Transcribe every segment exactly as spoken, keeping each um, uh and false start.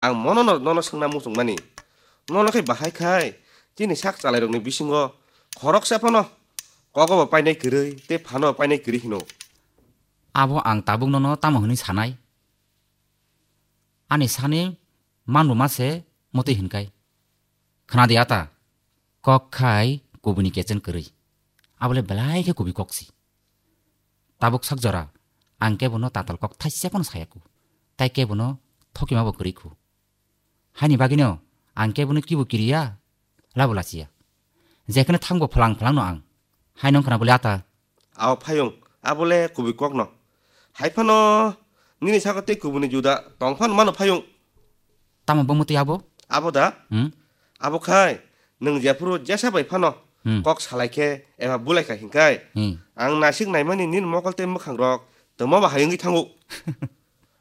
Ang mono no, nono swngna muchungmani. Nono khe bahai khai, chini sak chalairokni bisingo khoroksa phano kogobo painai kwrwi tei phano painai kwrwi hino. Abo ang tabuk nono tamo hwnwi sanai? Ani sani manruma se motwi hinkai. Khna di ata, kok khai kubuni kechen kwrwi. Abole belai khe kubi kok si. Tabuk sak jora ang kebono tatal kok thaisa phano sayaku. Tai kebono thokima bo kwrwi khu. Haini bagwino ang kebono kibo kiriya, labo lachiya. Jekheno thangbo phalang phalangno ang. Hai nong khna bole ata. Ao phayung, abole kubui kokno. Hai phano nini saka tei kubuni juda tong phano mano phayung. Tamo bo mutwi abo? Abo da? Hmm? Abo khai, nwng jephuru jesa bai phano Hmm. kok salai khe eba bulai kha hinkai. Hmm. Ang nasik naimani nini mokol tei mwkhang rok toma ba hayungwi thango.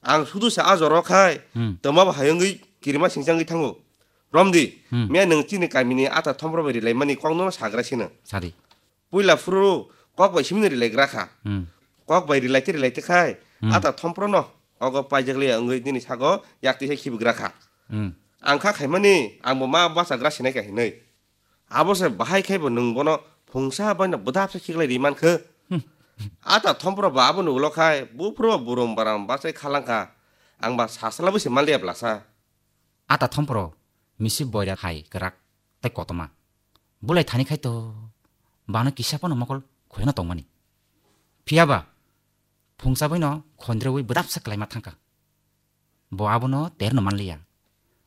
Ang sudu sa a joro khai, Hmm. toma ba hayungwi kirima singchangwi thango. Romdi, Hmm. miya nwng chini kamini ata thompro bai rilaimani kokno sagra sino. Sadi. Puila phuru kok bai simino rilai gra kha. Hmm. Kok bai rilai te rilai te khai, Hmm. ata thompro no ogo paijak liya wngwi nini sago yak tisa khibi gra kha. Hmm. Ang kha khaimani, ang bo ma bacha gra sinai kha hinwi. Abo se bahai khai bo nwng bono phungsa bai no bwdap se khiklai ri man khe. Hmm. Ata thompro ba abo ni ulo khai, buphuru bo burum baram bachai khalang kha. Ang ba sasla bo se man liya blasa. Ata thompro misi boira hai kwrak tei kotoma. Bulai thani khai to bano kisa phano mokol khoyano tongmani. Phiya ba phungsa bai no khondrewi bwdapsa kwlaima thangkha. Bo abono terno manliya.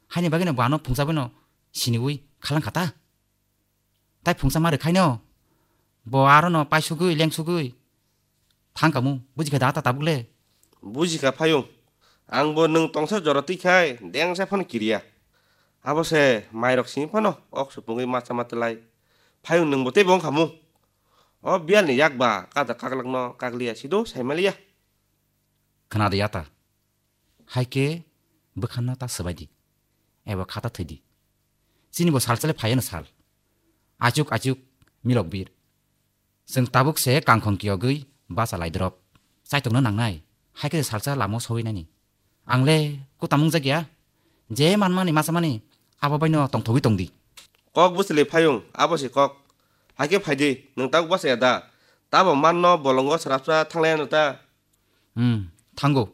Haini bagwino bo ano phungsa bai no siniwi khalang kha ta. Tai phungsa ma rwkhaino bo arono paisugwi lengsugwi thangkamu, bujikha da ta tabukle? Bujikha phayung. Angbo nwng tongsa jora twikhai dengsa phano kiriya. Abo se mairok simi phano ok supungwi macha ma twlai. Phayung nwngbo teibo wngkhamu. O biyalni yak ba kada kaklakno kakliya sido saimaliya. Khna de ya ta. Hai khe bwkhanno ta swbai di, eba kha ta thwi di. Chini bo sal chale phaiya no sal. Achuk achuk milok bir. Chwng tabuk se kangkhong kiyogwi bacha lai drop. Chaitokno nangnai, hai khe salsa lamo sogwi nani. Ang le kutam wngjakya, je manmani machamani abo baino tongthogwi tongdi. Kok bwswlwi phayung, abo se kok. Hai khe phai di, nwng tabuk bacha ya da? Tamo manno bolongo srapsa thanglaiya no ta? Hmm, thango.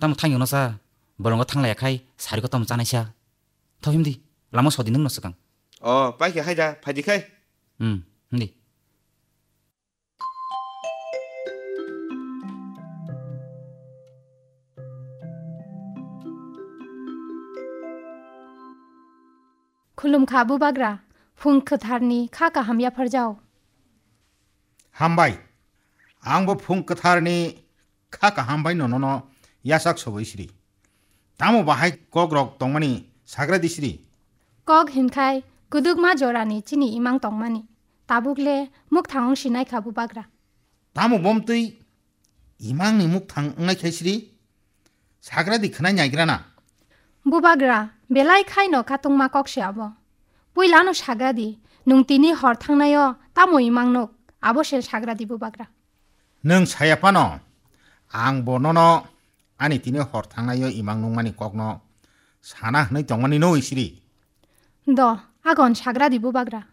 Tamo thangyo no sa, bolongo thanglaiya khai sari kotom chanaisa. Tho himdi, lama sodi nwng no swkang. O, pai khe hai da, phai di khai. Hmm, himdi. Khulumkha Bubagra, phung kwtharni kha kaham yapharjao. Hambai, angbo phung kwtharni kha kaham bai nono yasak soboi sri. Tamo bahai kok rok tongmani sagra di sri. Kok hinkhai kwdwkma jorani chini imang tongmani. Tabuk le mukthang wng sinai kha Bubagra. Tamo bomtwi imangni mukthang wngnai khai sri? Sagra di khwnai naigrana. Bubagra, belai khai no katungma kok se abo. Puilano sagra di, nwng tini hor thangnaio tamo imang nuk, abo se sagra di Bubagra. Nwng saya phano, ang bo nono ani tini hor thangnaio imang nungmani kokno sana hwnwi tongmani no sri. Do, agon sagra di Bubagra.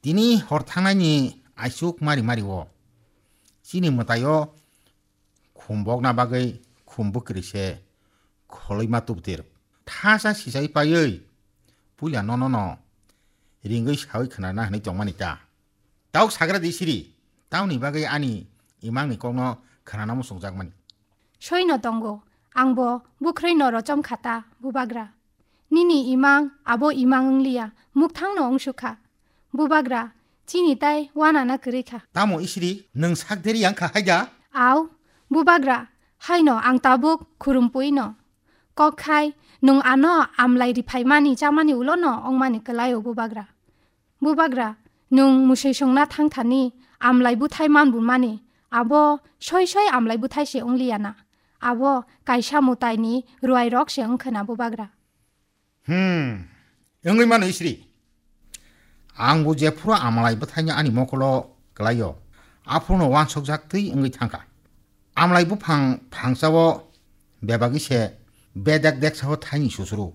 Tini hor thangnaini aisuk mari mari o. Chini mwtaio khum bokna bagwi khum bwkrwi se kholoima tubtir. Thasa sisai paiwi puila nono no ringwi sawi khwnana hwnwi tongmani ta. Tauk sagra di siri, tauni bagwi ani imangni kokno khwnana muchungjakmani. Soino tongo, angbo bwkhrwi no rochom khata, Bubagra. Nini imang abo imang wngliya, mukthang no wngsukha. Bubagra, chini tai wanana kwrwi kha. Tamo isiri, nwng sak deri yang kha hai da? Au, Bubagra, haino ang tabuk khurumpui no. Kok khai, nwng ano amlai riphaimani chamani ulo no ongmani kwlaio Bubagra. Bubagra, nwng musui songna thang thani amlai buthai man bumani, abo soi soi amlai buthai se wngliya na. Abo kaisa mutai ni ruai rok se wngkha na Bubagra. Hmm, wngwi mano isri. Ang bo jephuru amlai bwthaino ani mokolo kwlaio, aphuru no wansokjak twi wngwi thangkha. Amlai buphang phangsa o bebagwi se Bedak deksa o thaini susuru.